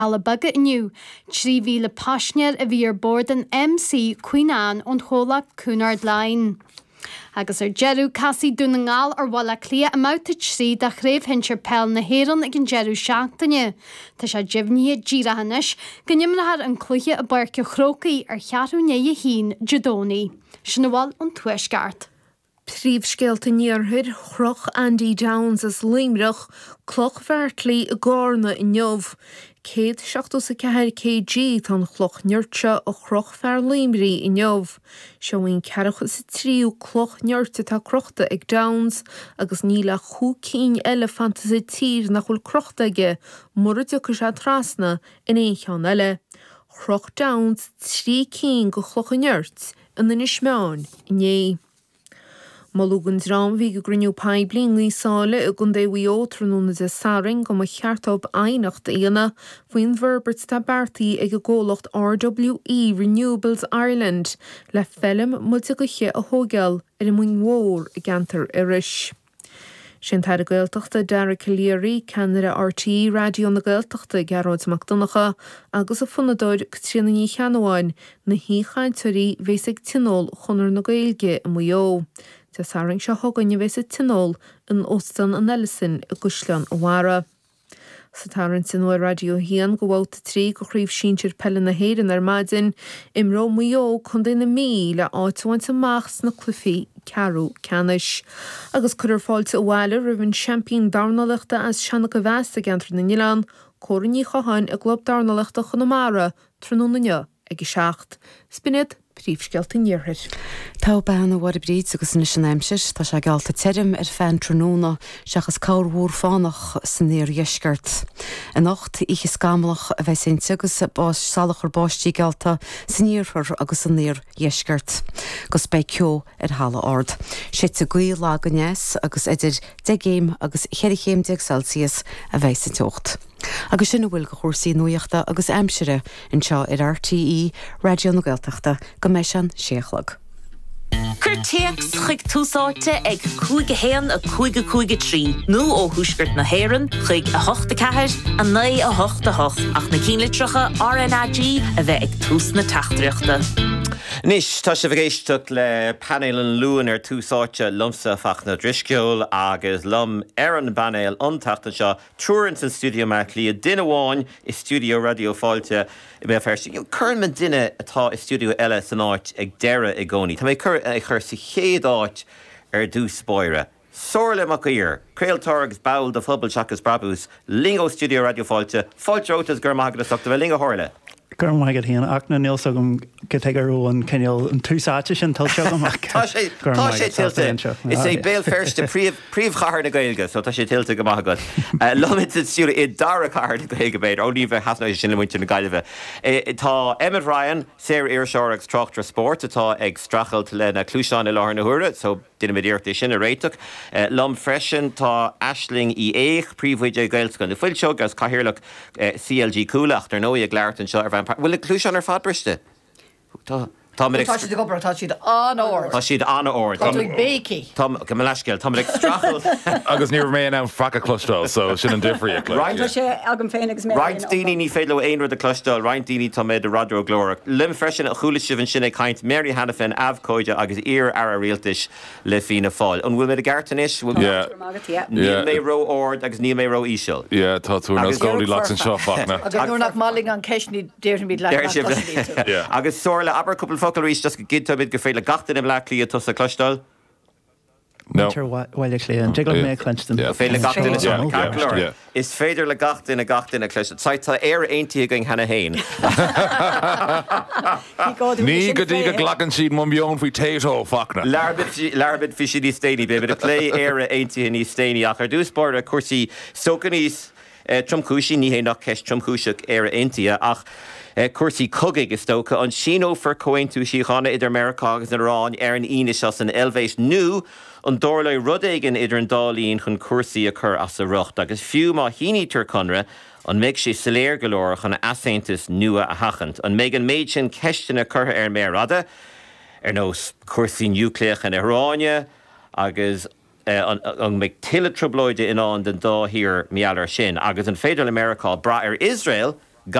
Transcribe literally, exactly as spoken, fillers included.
Cealla Beaga inniu. Trí mhíle paisinéir a bhí ar bord an MC Queen Anne ón chomhlacht Cunard Line. Agus ar deireadh casfaidh Dún na nGall ar Bhaile Átha Cliath i mbabhta trí de Chraobh Shinsir Peil na hÉireann ag an deireadh seachtaine. Tá sé deimhnithe díreach anois go n-imreofar an cluiche i bPáirc an Chrócaigh ar cheathrú i ndiaidh a haon Dé Domhnaigh. Sin a bhfuil ón Tuaisceart. Príomhscéalta an Iarthair, Chroch Andy Downes as Luimneach cloch Bheartlaí i gCarna inniu. Céad seachtó is a ceathair kg tá an chloch nirt seo a chroch fear Luimnigh inniu. Seo í an ceathracha is a tríú cloch nirt atá crochta ag Downes agus níl ach cúig cinn eile fanta sa tír nach bhfuil crochta aige mura dtiocfaidh sé trasna in aon cheann eile. Chroch Downes trí cinn de chlocha nirt in Inis Meáin inné. Moladh don dream a bhí ag an gcruinniú poiblí i nGaoth Sáile i gContae Mhaigh Eo tráthnóna Dé Sathairn go mba cheart dóibh aighneacht a dhéanamh faoin bhforbairt atá beartaithe ag an gcomhlacht RWE Renewables Ireland le feilm muilte gaoithe a thógáil ar an Mhoing Mhór i gceantar Iorrais. Sé an tAire Gaeltachta Dara Calleary, ceannaire RTÉ Raidió na Gaeltachta Gearóid Mac Donncha agus an fonnadóir Caitríona Ní Cheannabháin na haoichainteoirí a bheas ag Tionól Chonradh na Gaeilge i Maigh Eo. Dé Sathairn seo chugainn a bheas an Tionól in Óstán an Ellison i gCaisleán an Bharraigh. Sa tarraingt inniu ar Raidió a haon do bhabhta a trí de Chraobh Shinsir Peile na hÉireann ar maidin, imreoidh Maigh Eo Contae na Mí le áit a bhaint amach sna cluichí ceathrú ceannais. Agus cuirfear fáilte abhaile roimh an seaimpín dornálaíochta as Seancha Mheas i gceantar na nOileán, Córa Ní Chatháin i gClub Dornálaíochta Chonamara tráthnóna inniu ag a seacht. B'in iad príomhscéalta an Iarthair. Tá bean a bhar bríd agus anois an aimsir, tá sé geallta tirim ar feadh an tráthnóna seachas corrmhúr fánach san iardheisceart. Anocht oíche scamallach a bheas inti agus salachar báistí geallta san iarthar agus san iardheisceart. Gus beidh ceo ar thalamh ard. Séidfidh gaoth lag aneas agus idir deich gcéim agus ceithre chéim déag Celsius a bheidh sa teocht. Agus sin a bhfuil de chúrsaí nuachta agus aimsire anseo ar RTÉ Raidió na Gaeltachta go mbeidh sé an sé a chlog. Cuir téacs chuig Tús Áite ag cúig a haon a cúig a cúig a trí nó ó Thuaisceart na hÉireann chuig a hocht a ceathair a naoi a hocht a hocht ach na ceannlitreacha RnaG a bheith ag tús na teachtaireachta. Anois tá sibh ag éisteacht le painéal an Luain ar Tús Áite liomsa Fachtna Ó Drisceoil agus liom ar an bpainéal an tseachtain seo triúr in san stiúideo i mBaile Átha Cliath duine amháin i stiúideo Raidió Fáilte i mBéal Feirste. Cuireann mé duine atá i stiúideo eile san áit ag deireadh i gcónaí. Tá mé cur ag chur sa chéad áit ar dtús báire. Somhairle Mac Uidhir, craoltóir agus ball de Phobal Seachas Brabús, linn ó stiúideo Raidió Fáilte, Fáilte romhat go raibh maith agat as ucht a bheith linn a Shomhairle. Go raibh maith agat féin ach na níl agam go tuige raibh an cineál an tús áite sin tuillte agam ach Tá sé go raibh tá maith sé agat as tuillte anseo. Is é Béal Feirste príomh príomhchathair na Gaeilge, so tá sé tuillte go maith agat. Uh, Liom sa stiúideo i dara cathair na Gaeilge b'fhéidir ó ní bheith hasná sin le muintir na Gaillimhe. Eh, Tá Emmet Ryan, saoririseoir agus tráchtaire spóirt atá ag streachailt lena cluasáin i láthair na huaire, so déanaimid iarracht é sin a réiteach. Uh, Liom freisin tá Aisling Uí Fhéich, príomhoide Gaelscoil na Fuilseog agus cathaoirleach uh, CLG Cuala ach ar ndóigh ag labhairt anseo ar bhean Bhfuil na cluasáin ar fad briste? Tá Tá Tá siad ag obair tá siad an-ard. Tá siad an-ard. Tá tú ag béicíl. Tá go leiscéil Tá ag streachailt Agus ní raibh mé in ann faic a chloisteáil, so sin an difríocht. Roinnt Tá sé agam féin agus mé Roinnt daoine ní féidir leo aon rud a chloisteáil, roinnt daoine tá mé de raidió glórach. Liom freisin a chuala sibh ansin ag caint Mary Hanafin abhcóide agus iar-aire rialtais le Fianna Fáil. An bhfuil mé i gceart anois? Yeah. Níl mé ró-ard agus níl mé ró-íseal. Yeah, tá tú Agus- nó Goldilocks anseo Fachtna. Agus nuair nach maling an ceist ní déarfaimid le Deir sibh Yeah. Agus Somhairle abair cúpla focal arís just go gcinnteoimid go féidir le gach duine i mBaile Átha Cliath tusa a chloisteáil. No. Muintir Bhaile Átha Cliath, an dtig liom mé a chluinstin. Yeah. Féidir le gach duine Yeah, yeah, yeah, yeah. yeah. Is féidir le gach duine gach duine cloisteáil. Sa tá Éire aontaithe againn cheana féin. Ní go dtí go nglacann siad mo mheon faoi Tayto Fachtna. Labhróimid faoi sin níos déanaí, beimid ag plé Éire aontaithe níos déanaí ach ar dtús báire cúrsaí sócaníos tromchúisí ní hé nach ceist tromchúiseach Éire aontaithe ach eh, cúrsaí cogaidh is dócha an síneofar comhaontú síochána idir Meiriceá agus an Iaráin ar an Aoine seo san Eilvéis nó an dtarlóidh rud éigin idir an dá linn chun cúrsaí a chur as a riocht agus fiú má shínítear conradh an mbeidh sé soiléir go leor chun easaontas nua a sheachaint. An mbeidh an méid sin ceisteanna curtha ar méar fhada ar nós cúrsaí núicléacha na hIaráine agus eh, an, an mbeidh tuilleadh trioblóide i ndán don dá thír mar gheall air sin, agus an féidir le Meiriceá brath ar Iosrael